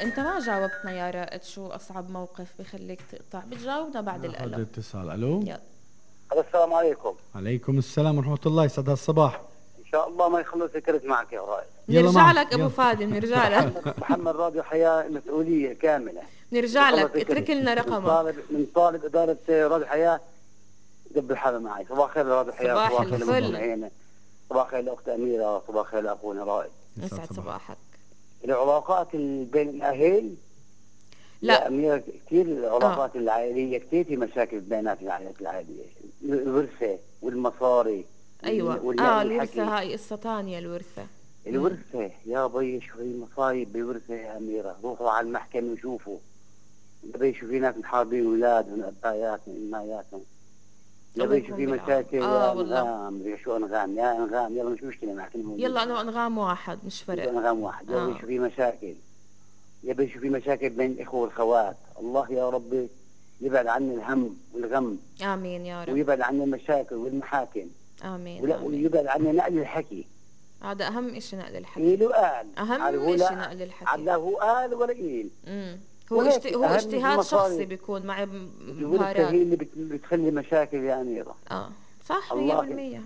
انت ما جاوبتنا يا رائد، شو اصعب موقف بخليك تقطع؟ بتجاوبنا بعد هذا الالو. اتصال. الو. يلا. السلام عليكم. عليكم السلام ورحمة الله، يسعد الصباح. ان شاء الله ما يخلص يكرز معك يا رائد. نرجع لك ابو فادي، نرجع لك. محمد راديو حياة مسؤولية كاملة. نرجع لك، اترك لنا رقمك. من طالب إدارة راديو حياة قبل حالة معي. صباح الخير راديو حياة. صباح الفل. صباح الخير لأخت أميرة، صباح الخير لأخونا رائد. يسعد صباحك. العلاقات بين الأهل لا أميرة كثير، العلاقات العائلية كثير في مشاكل بينات العائلات العائلية، الورثة والمصاري. ايوه الورثة هاي قصة تانية. الورثة يا بي شو هي مصايب بالورثة يا أميرة. روحوا على المحكمة وشوفوا يا بي، شو في ناس محاربين أولادهم أباياتهم إماياتهم يا بي، شو في مشاكل. يا أنغام شو أنغام يا أنغام، يلا مش مشكلة نحكيهم. يلا أنا أنغام واحد مش فرق. أنغام واحد. يا بي شو في مشاكل، يا بي شو في مشاكل بين الإخوة والخوات. الله يا ربي يبعد عنا الهم والغم. آمين يا رب. ويبعد عنا المشاكل والمحاكم. آمين. ويبعد عنا نقل الحكي. هذا أهم إشي، نقل الحكي. قيل وقال. أهم إشي نقل الحكي. على هو قال ولا قيل. هو اجتهاد شخصي بيكون مع الورثة هي اللي بتخلي مشاكل يا أميرة. صح 100%.